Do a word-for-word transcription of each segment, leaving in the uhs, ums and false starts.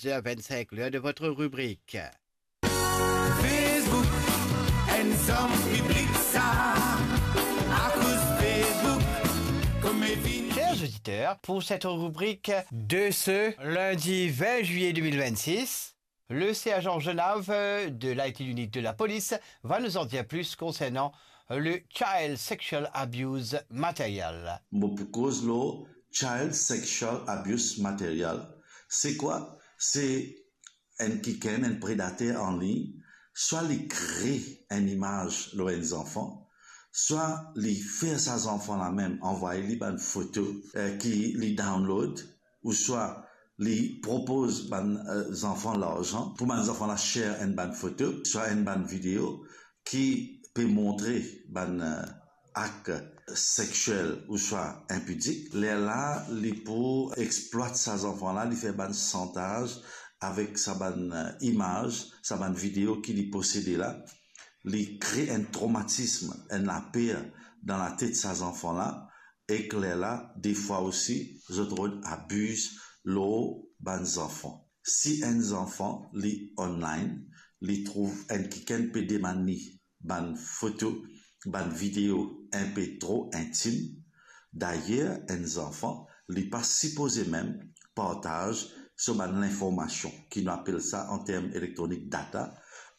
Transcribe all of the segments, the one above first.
Dix heures vingt-cinq, l'heure de votre rubrique. Facebook, enn zom piblik sa, akoz Facebook, kouma vinn. Chers auditeurs, pour cette rubrique de ce lundi vingt juillet deux mille vingt-six, le sergent Genav, euh, de l'I T unit de la police va nous en dire plus concernant le Child Sexual Abuse Material. Mo pou koz lor Child Sexual Abuse Material. Se kwa? Se enn kikenn, enn predater anlign, swa li kre enn imaz lor enn zanfan, swa li fer sa zanfan la mem anvway li bann foto, eh, ki li download, ouswa li propoz bann, eh, zanfan larzan pou bann zanfan la share enn bann foto, swa enn bann video ki pe montre bann, eh, ak sexiel ouswa inpidik, lerla li pou explwat sa zanfan la, li fer bann shantaz avek sa bann, eh, imaz, sa bann video ki li posede la, li kre enn tromatism, enn laper dan latet sa zanfan la, ek lerla, defwa osi, zot rod abiz lor bann zanfan. Si enn zanfan li online, li trouv enn kikenn pe demann li bann foto, bann video inpe tro intim. Dayer, enn zanfan, li pa sipoze mem partaz so bann linformasion, ki nou apel sa an term elektronik data,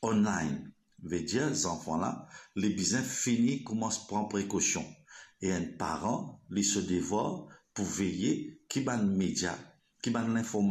online. Vedir zanfan la, li bizin fini koumans pran prekosion. E enn paran, li so devwar pou veye ki bann media, ki bann linformasion